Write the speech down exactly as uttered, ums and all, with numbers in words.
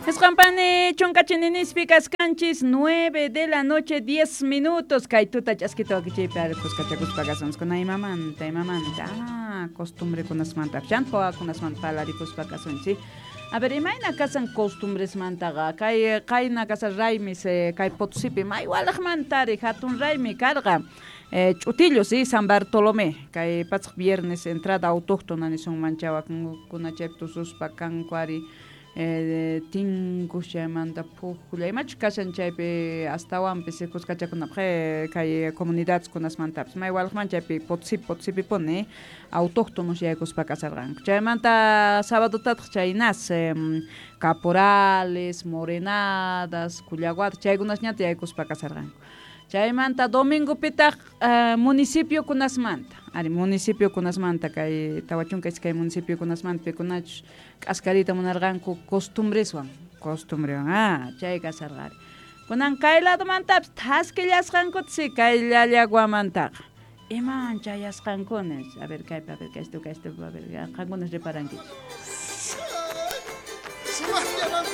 Isqanpani chunkachininispi kaskanchis nueve de la noche diez minutos kay tuta ch'askita wakichiypi ari kuskachakuspa kasunchis kuna imamanta imamanta ah costumbre kunasmanta chanta wawakunasmanta parlarikuspa kasunchis. A ver, imayna kasan costumbresmantaqa kay qayna kasan raymis kay Potosipi may walaqmantari hatun raymi karqa eh, ch'utillo, sí, San Bartolomé kay patsaq viernes entrada autóctona nisunman chawakunkuna chaypi tususpa kanku ari eh, tinkus chaymanta phujlla imachus kashan chaypi astawanpis kuskachakunapaq eh, kay comunidades kunasmantapis may walaqman chaypi Potosipi Potosipipuni autóctonos yaykuspa kasarqanku chaymanta sabadotataq chaynas eh, caporales, morenadas, kullaguadas chaykunasñata yaykuspa kasarqanku chaymanta domingopitaq uh, municipio kunasmanta ari municipio kunasmanta kay tawa chunka iskay municipio kunasmanta pikunachus k'askariyta munarqanku costumbreswan costumbrewan ah chay kasarqa ari kunan kay ladomantapis thaskillasqankuta si kay llallaguamantaqa iman chayasqankuna a ver kaypi a ver kaystu kaystu a ver qankunas reparankichis. Sumaqlla.